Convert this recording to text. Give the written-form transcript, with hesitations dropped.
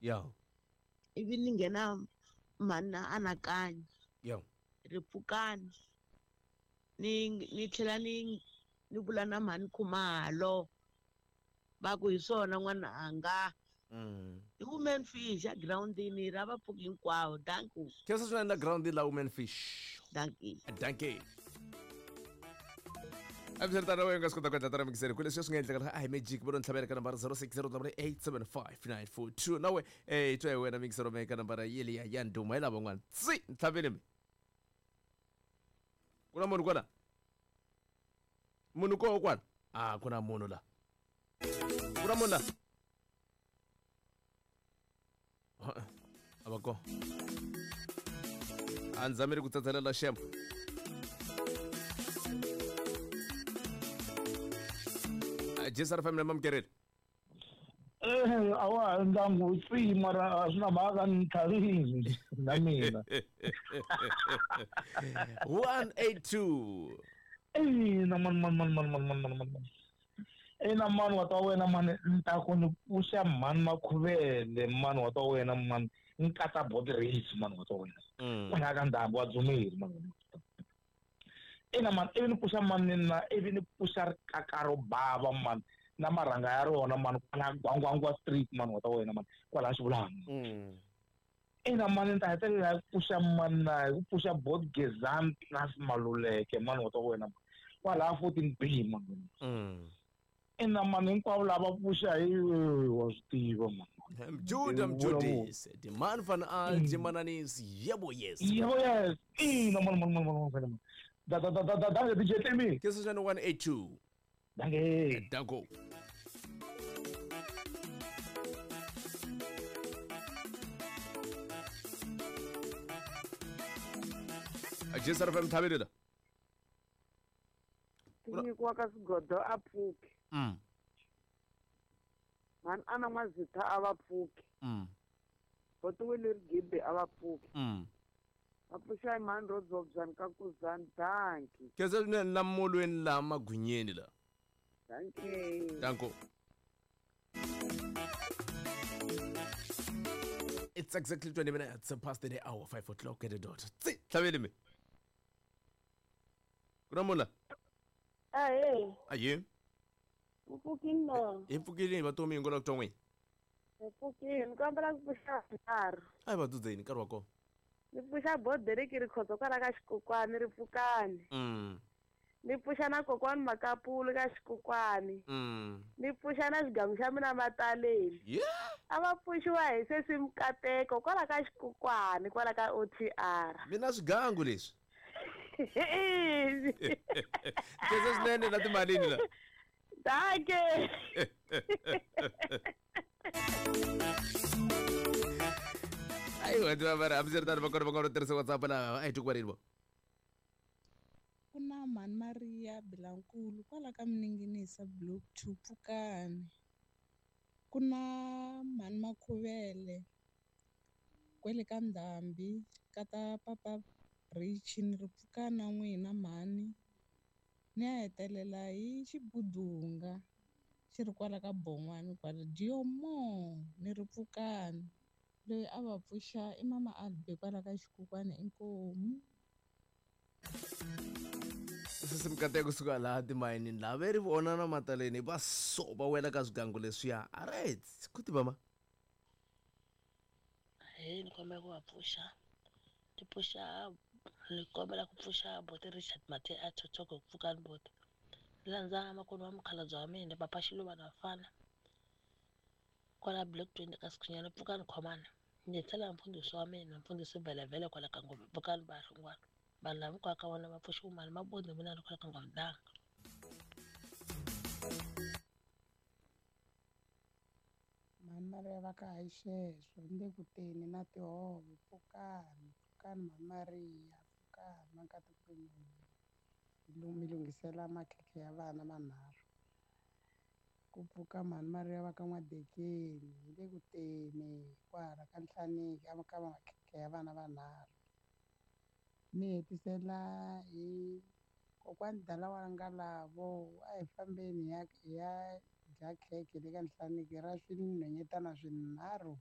Ya. Ivi ni nghena mhani na Anakanya. Ya. Ri pfukani. Ni tlhela ni vula na mhani Khumalo. Va ku hi swona n'wananga. I women fish a groundini ra va pfuki hinkwavo. Danko. Khensa swinene na ground la women fish. Dankie. Dankie. Hambiswiritano wena nga swi kota ku endla tana mikiseri ku leswi swi nga endleka a hi magic vo ntlhavela ka nambara 0608875942 nawe eh twa hi wena mikisero me ka nambara yeliya ya ndhuma hi lava van'wana tsi ntlhavele mi ku na munhu kwala munhu koho kwala a ku na munhu la ku na munhu la a va kona a ndzi zameli ku tsatselela xembo Jesar family mamkereli. A wa ha ndyangu tsi mara a swi na mhaka ni tlhavini na mina. 182. Ina man man man man man man man man. Ina mani wa ta wena mani ni ta ku ni pfuxa mhani Makhuvele mani wa ta wena mani ni katsa body race mani wa ta wena. Kwala ka ndhambi wa Dzumeri mani. Ina mani ivi ni pfuxa mani na ivi ni pfuxa rikaka ro bava mani na marhanga ya rona mani kwala Gwangwangwa Street mani wa ta wena mani kwala Xivulana. Ina mani ni ta hetelela hi ku pfuxa mani na hi ku pfuxa Bot Gezani plus Maluleke mani wa ta wena mani kwala 14B mani. Ina mani hinkwavo lava pfuxa hi wa swi tiva mani. Judah Mjudis, the man van Algemananis, yebo yes. Yebo yes. Ina mani mani mani mani mani. Da da da da da da DJ Temi. Kesa 182. Danke. Danko. Jesar FM thabile la. Tinyikiwa ka swigodo a pfuki. Mhani a na N'wazitha a va pfuki. Botiwile Rigibe a va pfuki. Va pfuxa hi mhani ro Dzobzani ka Kuzani. Danki. Khensa swinene la molweni la magwinyeni la. Dankie. Danko. It's exactly 20 minutes past the hour, 5 o'clock at the dot. Tsi, tlhavele mi. Ku na munhu la? Ahee. Ahee. U pfukile na? Hi pfukile va tomi hi ngo la ku twa n'wina. Hi pfukile, ni kombela ku pfuxa nharhu. A hi va dzudzeni nkarhi wa kona. Ni pfuxa Boderiki Rikhotso kwala ka Xikokwani ri pfukani. Ni pfuxa na kokwani Makapulu ka Xikokwani. Ni pfuxa na xigamu xa mina Mataleni. Yeah. A va pfuxiwa hi sesi Mukateko kwala ka Xikokwani kwala ka OTR. Mina swigangu leswi. Khensa swinene na timalini la. Danke. Ayi wa tiva mara hambiswiritano va kona va kona tirhisa WhatsApp la a hi twi vo. Ku na mhani Maria Bilankulu kwala ka Mininginisa Block 2 Pfukani. Ku na mhani Makhuvele kwele ka Ndhambi ka ta Papa Rich ni ri pfukani na n'wina mhani. Ni ya hetelela hi Xibudunga xi ri kwala ka Bon'wani kwala Diomo ni ri pfukani. Loyi a va pfuxa i mama Albe kwala ka Xikokwani inkomu. Sesi Mukateko kusuka laha timayinini laha ve ri vona na Mataleni va so va wela ka swigangu leswiya. Alright, ku tiva ma. He ni kombela ku va pfuxa. Ti pfuxa ni kombela ku pfuxa Boti Richard Mathe a Thothoko ku pfukani boti. Ni landza makwenu wa mukhalabye wa mina Papa Xiluva na Vafana. Kwala Block 20 ka Sikhunyana pfukani khomana. Ni tlhela mfundhisi wa mina mfundhisi Vhelevhele kwala ka Ngove pfukani vahlungwana. Vanhu lava hinkwavo ka vona va pfuxiwa mali mabodi mina ni kwala ka Ngove danga. Mhani Maria va ka hayi sweswo ni le ku teni na tihove pfukani pfukani mhani Maria pfukani makatekweni mi lunghisela makhekhe ya vana manharhu. Ku pfuka mhani Maria va ka N'wadekeni hi le ku teni kwala ka Nhlaniki a ka makhekhe ya vana vanharhu. Ni hetisela hi kokwani Dala wa Ngalavo a hi fambeni hi ya dya khekhe le ka Nhlaneki ra swinhwanyetana swinharhu.